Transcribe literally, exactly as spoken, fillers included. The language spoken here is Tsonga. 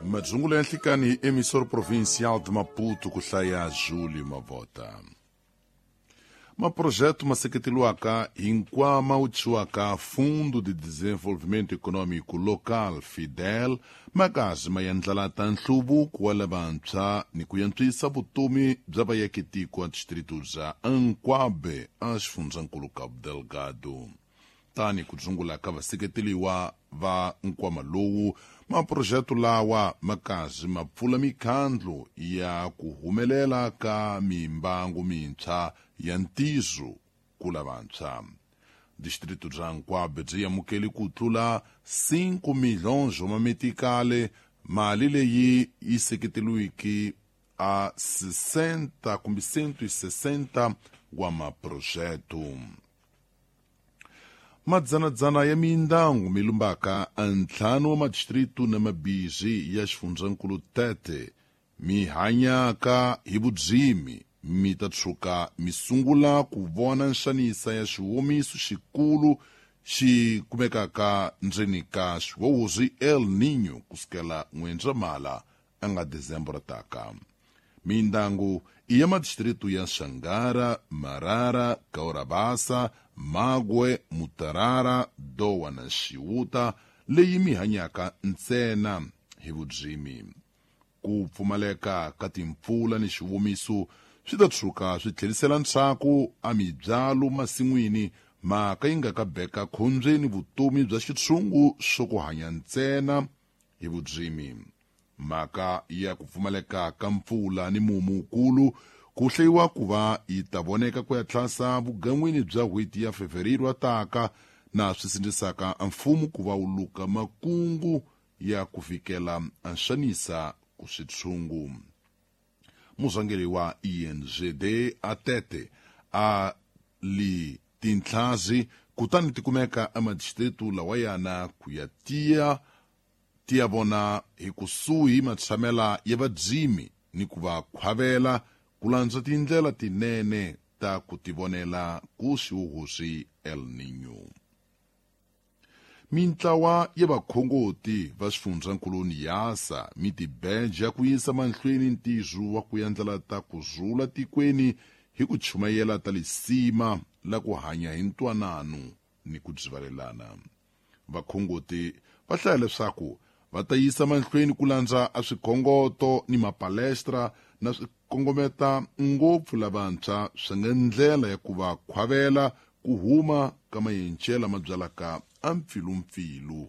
Madzungulo ya nhlikani hi emissor provincial de Maputo ku hlaya Júlio Mavota. Maprojeto ma seketeriwaka hi nkwama wu thyiwaka Fundo de Desenvolvimento Econômico Local FIDEL makazi ma yendlela ta nhluvuko wa lavantshwa ni ku yantswisa vutomi bya vaakatiko a distrito bya Ancuabe a xifundzankulu Cabo Delgado. Tani ku dzungula ka vaseketeliwa va nkwama lowu, maprojeto lawa makazi ma pfula mikhandlu ya ku humelela ka mimbangu mintshwa ya ntizo ku lavantshwa. Distrito bya Ancuabe byi amukele ku tlula cinco milhões wa mametikale, mali leyi yi seketeriweke a sessenta kumbe cento e sessenta wa maprojeto. Madzanadzana ya mindyangu mi lumbaka a ntlhanu wa madistrito na mabizi ya xifundzankulu Tete mi hanyaka hi vudzimi mi ta tshuka mi sungula ku vona nxanisa ya xiwomiso xikulu xi kumekaka ndzeni ka xiwowozi El Niño kusukela N'wendzamhala a nga Dezembro taka. Mindyangu i ya madistrito ya Xangara, Marara, Kaurabasa, Magwe, Mutarara, Dowa na Xiwuta leyi mi hanyaka ntsena hi vudzimi. Ku pfumaleka ka timpfula ni xiwomiso swi ta tshuka swi tlherisela ntshaku a mibyalo masin'wini, mhaka yi nga ka beka khombyeni vutomi bya xitshungu xo ku hanya ntsena hi vudzimi. Mhaka ya ku pfumaleka ka mpfula ni mumu wukulu ku hleyiwa ku va yi ta voneka ku ya tlhasa vugan'wini bya n'hweti ya Fevereiro taka, na swi sindzisaka mfumo ku va wu luka makungu ya ku fikela a nxanisa ku switshungu. Murhangeri wa I N G D a Tete a li tintlhazi kutani ti kumeka emadistrito lawayana ku ya tiya tiya vona hi kusuhi matshamela ya vadzimi ni ku va khwavela ku landza tindlela tinene ta ku tivonela ku xihuhusi El Niño. Mintlawa ya vakhongoti va xifundzankulu Niassa mi tibeja ku yisa mahlweni ntirho wa ku endlela ta ku zula tikweni hi ku chumayela ta lisima la ku hanya hi ntwanano ni ku byivalelana. Vakhongoti va hlaya leswaku va ta yisa mahlweni ku landza a swikhongoto ni mapalestra na swikongometa ngopfu lavantshwa swi nga ndlela ya ku va khwavela ku huma ka mayencela ma byalaka a mpfilumpfilu